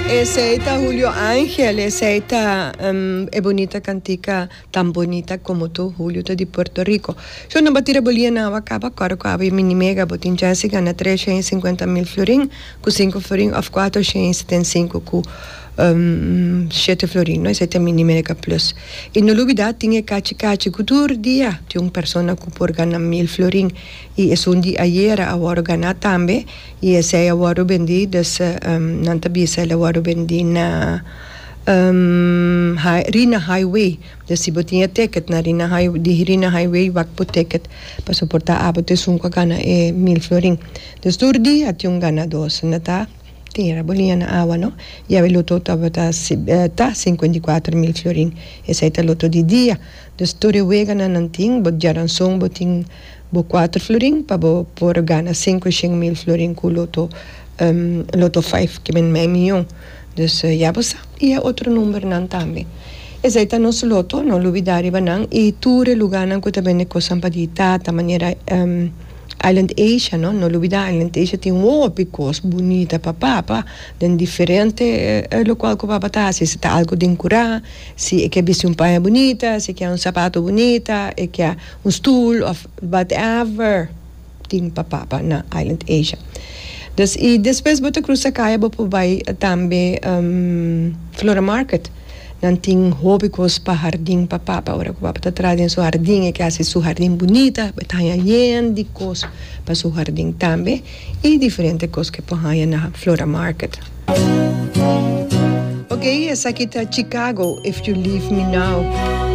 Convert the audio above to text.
Esey ta Julio Angel, esey ta e bunita cantica Tan Bonita Como Tu, Julio ta di Puerto Rico. Yo no bo tira bo lia na awa caba, cora cu awe mini mega bo tin chance di gana 350 mil florin cu cinco florin of 475 cu shete florin, no? Esey ta mini mega plus. Y no lubida tin e cachi cachi cu tur dia tin un persona cu por gana mil florin y esun di ayera a worde gana tambe. Y esey a wordo bendi, dus nan ta bisa el a wordo bendi na Rina Highway. Dus si bo tin e ticket na Rina Highway, di Rina Highway wak bo ticket pasobra por ta abo ta esun cu a gana e mil florin. Dus tur dia tin un ganador, si no ta tira bo liña na awa no. Y awe loto tabata ta 54 mil florin, esey ta loto di dia. Dus tur e weganan nan tin, bo djaranson bo tin. Bo cuater florin pa bo por gana cinco shen mil florin cu loto loto five ke men mei miyon. Dus ya bo sa. Y e otro numbernan tambe. Esey ta nos loto, no lubida riba nan. Y tur e lugarnan cu ta bende cosnan pa di tata manera Island Asia no, no lubida Island Asia tin hopi cos bunita pa papa den diferente locual cu papa ta haci. Si ta algo den cura, si e ke bisti un paña bunita, si e ke un sapato bunita, e ke. Un stoel of whatever tin pa papa na Island Asia. Dus y despues bo ta cruza caya bo por bay tambe Flora Market. Nan tin hopi cos pa hardin pa papa. Ora cu papa ta traha den su hardin e ke haci su hardin bunita bo ta haña yen di cos pa su hardin tambe y diferente cos ke por haña na Flora Market. Ok esaki ta Chicago If You Leave Me Now.